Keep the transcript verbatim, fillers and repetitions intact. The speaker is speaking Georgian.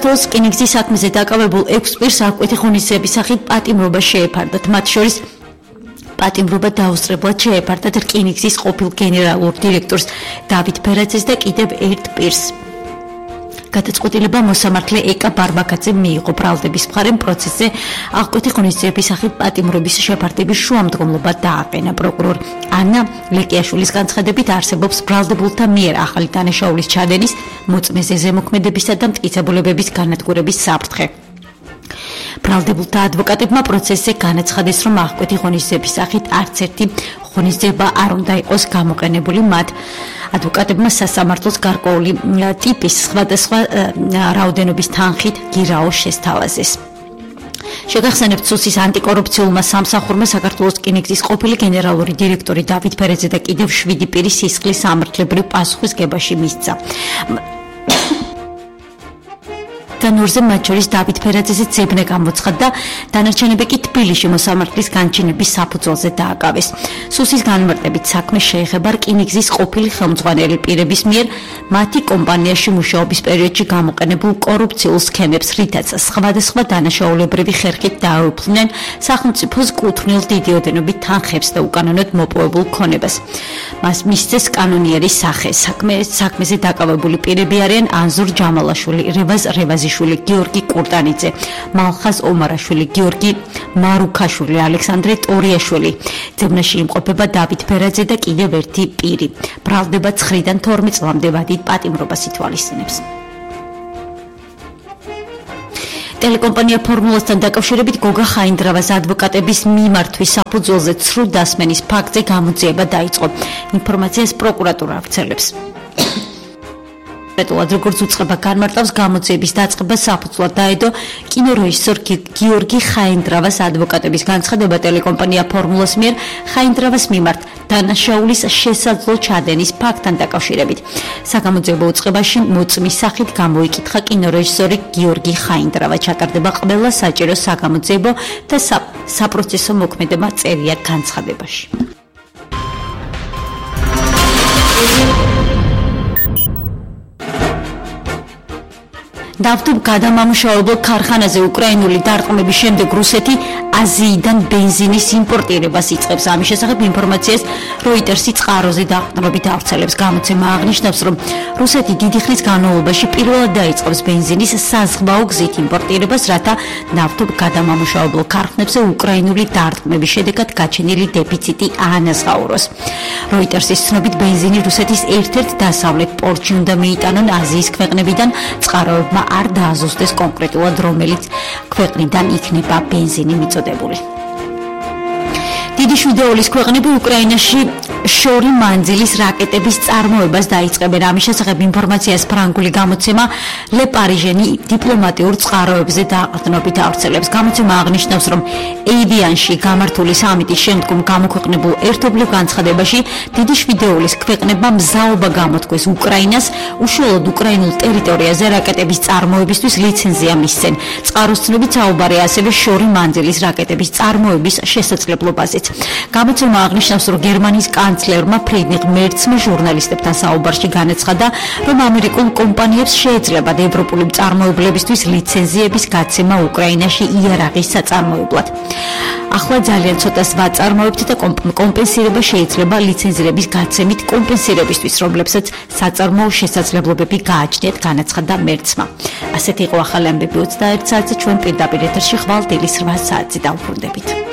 საქართველოს რკინიგზის საქმეზე დაკავებულ ექვს პირს აღკვეთი ღონისძიების სახით პატიმრობა შეეფარდათ. მათ შორის პატიმრობა დაუსწრებლად შეეფარდათ რკინიგზის ყოფილ გენერალურ დირექტორს დავით ფერაძეს და კიდევ ერთ პირს. გადაწყვეტილება მოსამართლე ეკა ბარბაკაძემ მიიღო. ბრალდების მხარემ პროცესზე აღკვეთი ღონისძიების სახით პატიმრობის შეფარდების შუამდგომლობა დააყენა. პროკურორ ანა ლეკიაშვილის განცხადებით არსებობს ბრალდებულთა მიერ ახალი დანაშაულის ჩადენის, მოწმეზე ზემოქმედებისა და მტკიცებულებების განადგურების საფრთხე. ბრალდებულთა ადვოკატებმა პროცესზე განაცხადეს, რომ აღკვეთი ღონისძიების სახით არც ერთი ღონისძიება არ უნდა იყოს გამოყენებული. მათ ადვოკატებმა სასამართლოს გარკვეული ტიპის სხვადასხვა რაოდენობის თანხით გირაო შესთავაზეს. შეგახსენებთ, სუსის ანტიკორუფციულმა სამსახურმა საქართველოს რკინიგზის ყოფილი გენერალური დირექტორი დავით ფერაძე და კიდევ შვიდი პირი სისხლის სამართლებრივ პასუხისგებაში მისცა. განორზე მათ შორის დავით ფერაძეზე ძებნა გამოცხადდა, დანარჩენები კი თბილისში მოსამართლის განჩინების საფუძველზე დააკავეს. სუსის განმარტებით საქმე შეეხება რკინიგზის ყოფილი ხელმძღვანელი პირების მიერ მათი კომპანიაში მუშაობის პერიოდში გამოყენებულ კორუფციულ სქემებს, რითაც სხვადასხვა დანაშაულებრივი ხერხით დაეუფლნენ სახელმწიფოს კუთვნილ დიდი ოდენობით თანხებს და უკანონოდ მოპოვებულ ქონებას. მას მისცეს კანონიერის სახე. საქმე საქმეზე დაკავებული პირები არიან ანზურ ჯამალაშვილი, რევაზ რევაზი გიორგი კურტანიძე, მალხაზ ომარაშვილი, გიორგი მარუქაშვილი, ალექსანდრე ტორიაშვილი. ძებნაში იმყოფება დავით ფერაძე და კიდევ ერთი პირი. ბრალდება ცხრიდან თორმეტ წლამდე ვადით პატიმრობას ითვალისწინებს. ტელეკომპანია ფორმულასთან დაკავშირებით გოგა ხაინდრავას ადვოკატების მიმართვის საფუძველზე ცრუ დასმენის ფაქტზე გამოძიება დაიწყო. ინფორმაციას პროკურატურა ავრცელებს. პეტულად როგორც უწყება განმარტავს, გამოძიების დაწყება საფუძვლად დაედო კინორეჟისორ გიორგი ხაინდრავას ადვოკატების განცხადება ტელეკომპანია ფორმულას მიერ ხაინდრავას მიმართ დანაშაულის შესაძლო ჩადენის ფაქტთან დაკავშირებით. საგამოძიებო უწყებაში მოწმის სახით გამოიკითხა კინორეჟისორი გიორგი ხაინდრავა. ჩატარდება ყველა საჭირო საგამოძიებო და საპროცესო მოქმედება წერია განცხადებაში. ნავთობ გადამამუშავებელ ქარხანაზე უკრაინული დარტყმების შემდეგ რუსეთი აზიიდან ბენზინის იმპორტირებას იწყებს. ამის შესახებ ინფორმაციას როიტერსი წყაროზე დაყრდნობით ავრცელებს. გამოცემა აღნიშნავს, რომ რუსეთი დიდი ხნის განმავლობაში პირველად დაიწყებს ბენზინის საზღვაო გზით იმპორტირებას, რათა ნავთობ გადამამუშავებელ ქარხნებზე უკრაინული დარტყმების შედეგად გაჩენილი დეფიციტი აანაზღაუროს. როიტერსის ცნობით ბენზინი რუსეთის ერთ-ერთ დასავლეთ პორტში უნდა მიიტანონ აზიის ქვეყნებიდან. წყაროებმა არ დააზუსტეს კონკრეტულად რომელიც ქვეყნიდან იქნება ბენზინი მიწოდებული. დიდი შვიდეულის ქვეყნები უკრაინაში შორი მანძილის რაკეტების წარმოებას დაიწყებენ. ამის შესახებ ინფორმაციას ფრანგული გამოცემა Le Parisien-ი დიპლომატიურ წყაროებზე დაყრდნობით ავრცელებს. გამოცემა აღნიშნავს, რომ ეივიანში გამართული სამიტის შემდგომ გამოქვეყნებულ ერთობლივ განცხადებაში დიდი შვიდეულის ქვეყნებმა მზაობა გამოთქვეს უკრაინას უშუალოდ უკრაინულ ტერიტორიაზე რაკეტების წარმოებისთვის ლიცენზია მისცენ. წყაროს ცნობით საუბარია ასევე შორი მანძილის რაკეტების წარმოების შესაძლებლობაზე. გამოცემა აღნიშნავს, რომ გერმანიის კანცლერმა ფრიდრიხ მერცმა ჟურნალისტებთან საუბარში განაცხადა, რომ ამერიკულ კომპანიებს შეეძლებათ ევროპული მწარმოებლებისთვის ლიცენზიების გაცემა უკრაინაში იარაღის საწარმოებლად. ახლა ძალიან ცოტას ვაწარმოებთ და კომპენსირება შეიძლება ლიცენზირების გაცემით კომპენსირებისთვის, რომლებსაც საწარმოო შესაძლებლობები გააჩნიათ, განაცხადა მერცმა. ასეთი იყო ახალი ამბები ოცდაერთ საათზე, ჩვენ პირდაპირ ეთერში ხვალ დილის რვა საათზე დავბრუნდებით.